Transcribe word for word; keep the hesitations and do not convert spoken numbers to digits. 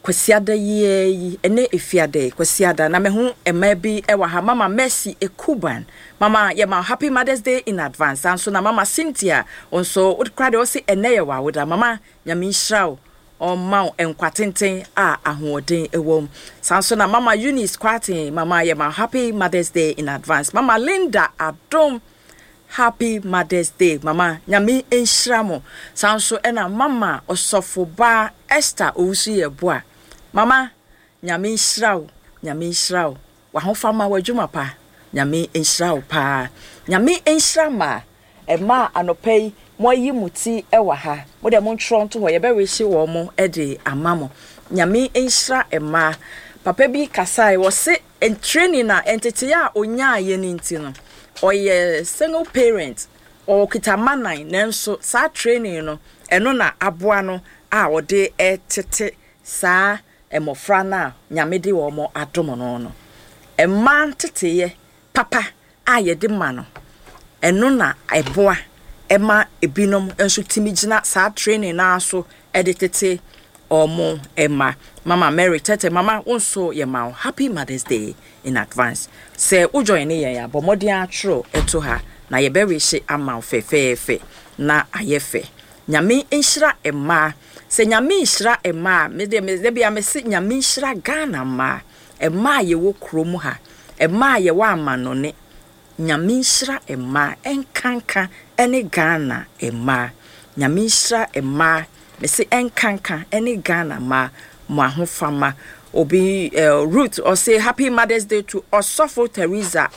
Kwasiada yie yi, ɛne Efiada yi, Kwasiada na mehu mmaa bi wɔ ha. Mama Mercy Ekuban, Mama, yɛma happy Mother's Day in advance. Nso na Mama Cynthia nso wokora deɛ, ɔse ɛnɛ yɛ w'awoda. Mama, Nyame nhyira wo, ɔma wo nkwa tenten a ahoɔden wɔ mu. Saa nso na Mama Eunice Kwaten, Mama, yɛma happy Mother's Day in advance. Mama Linda Adom, happy Mother's Day, Mama, Nyame nhyira mo. Saa nso ɛna Mama Ɔsɔfo Esther Owusu yɛ boa. Mama, Nyame nhyira wo, Nyame nhyira wo, wahofama, w'adwuma pa, Nyame nhyira wo paa. Nyame nhyira ma ɛma anɔpa yi moayi mo ti wɔ ha. Mo deɛ, montwerɛ nto hɔ, yɛbɛrehye wɔ mo de ama mo. Nyame nhyira mmaa. Papa bi kasae, wɔse training a nteteyɛ a onyaayɛ no nti no, ɔyɛ single parent, ɔkita mma nan, nanso saa training no, ɛno na aboa no a ɔde ɛtete saa mmɔfra no a Nyame de wɔn adom no no Mmaa nteteyɛ papa a yɛde ma no, ɛno na ɛboa ɛma ebinom nso tumi gyina saa training naa so ɛde tete ɔmo ɛma. Mama Mary Tete, Mama, wo nso yɛ ma wo happy Mother's Day in advance. Sɛ wo join ne yɛn a, bɔ mmɔden atwerɛ ɛto ha na yɛbɛrehye ama wo fɛfɛɛfɛ na ayɛ fɛ. Nyame nhyira mmaa. Sɛ Nyame nhyira mmaa, mede mede bia mese Nyame nhyira Ghana mmaa, mmaa a yɛwɔ kurom ha, mmaa a yɛwɔ amanɔne. Nyame nhyira mmaa, ɛnkanka ɛne Ghana mmaa. Nyame nhyira mmaa, mese ɛnkanka ɛne Ghana mmaa mo ahofama. Obi uh, Ruth ɔse happy Mother's Day to Ɔsɔfo Teresa.